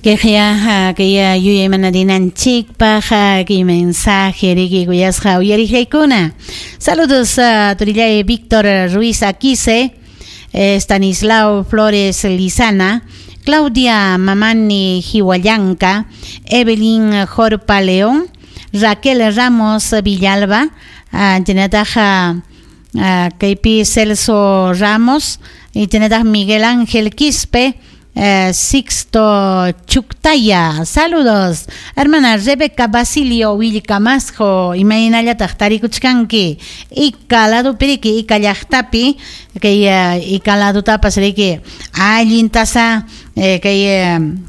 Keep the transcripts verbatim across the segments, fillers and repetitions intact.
Kaya kaya yuyaymananchikpaq kay mensaje riki kuyasqa uyariqllaykuna. Saludos a turillay Víctor Ruiz Aquise, Stanislao Flores Lizana, Claudia Mamani Hihuallanca, Evelyn Jorpa León, Raquel Ramos Villalba, chaynataqa kaypi Celso Ramos, y chaynataq Miguel Ángel Quispe, Eh, Sixto Chuctaya, saludos. Hermana Rebeca Basilio Willcamasjo, imaynallataq tarikuchkanki, Ica ladupi riki, Ica llaqtapi, kay Ica ladutapas riki, allintasa, eh, kay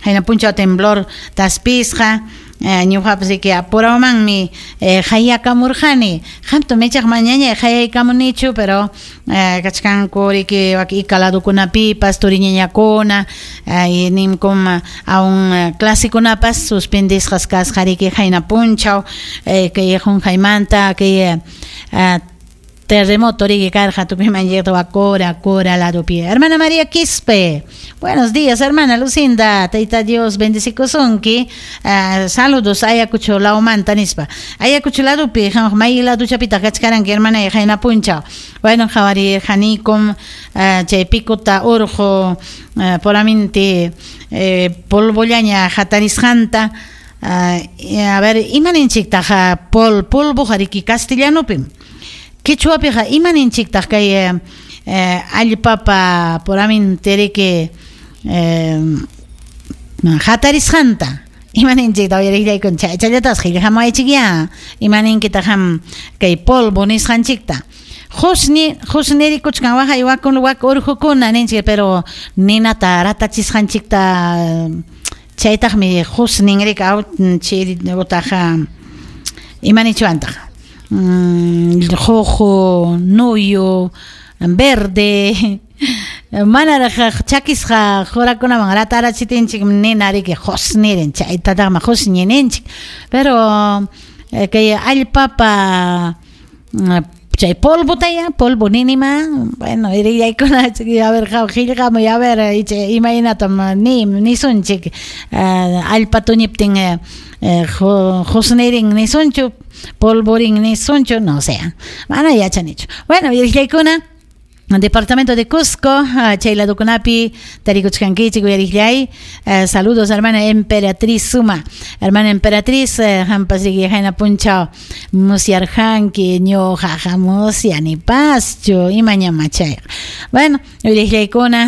hayna punchaw temblor taspisqa, ñuqapas riki apurawmanmi hayakamurqani, qamta michaq mañaña hayaykamunichu, pero kachkanku riki wak Ica ladukunapipas turiñañakuna, nimkum aún clasekunapas suspendisqas kasqa riki hayna punchaw, kay qunqaymanta kay terremoto riki karqa tukuyman llegado Cora, Cora ladupi. Hermana María Quispe, buenos días, hermana Lucinda, Tayta Dios bendecikusunki, uh, saludos Ayacucho lawmanta nispa. Ayacucho ladupi, may laduchapitaq kachkaranki hermana hayna punchaw. Bueno, qawarirqanikum uh, chay pikuta urqu uh, puraminti eh, polvollaña hatarisqanta. Uh, a ver, imaninchiktaq pol polvoqa riki castellanopim. Quechuapiqa imaninchiktaq kay eh, allpapa puraminti riki eh, hatarisqanta. Imaninchiktaq uyariqllaykun chaychallatas qillqamuwaychikya. Imaninkitaq qam kay polvo nisqanchikta. Qusni qusnirikuchkan waqay wakun wak urqukuna ninchik, pero ninata ratachisqanchikta chaytaqmi qusnin riki aw chay utaqa imanichwantaq. Mm, juju, nuyu, verde, manaraq chakisqa qurakunaman ratarachitinchik nina riki qusnirin chaytataqmi qusñi ninchik, pero kay allpapa chay polvotaya, polvo ninima, bueno, irillaykuna a ver qillqamuy a ver imaynatam ni nisunchik allpa tuñiptin qusnirin nisunchu, polvorin nisunchu, no sé, mana yachanichu. Bueno, uyariqllaykuna, Departamento de Cusco, chay ladukunapi tarikuchkankichik uyariqllay. Saludos, hermana Emperatriz Suma. Hermana Emperatriz, qampas riki hayna punchaw musyarqanki ñuqaqa musyanipaschu imañama chayqa. Bueno, uyariqllaykuna.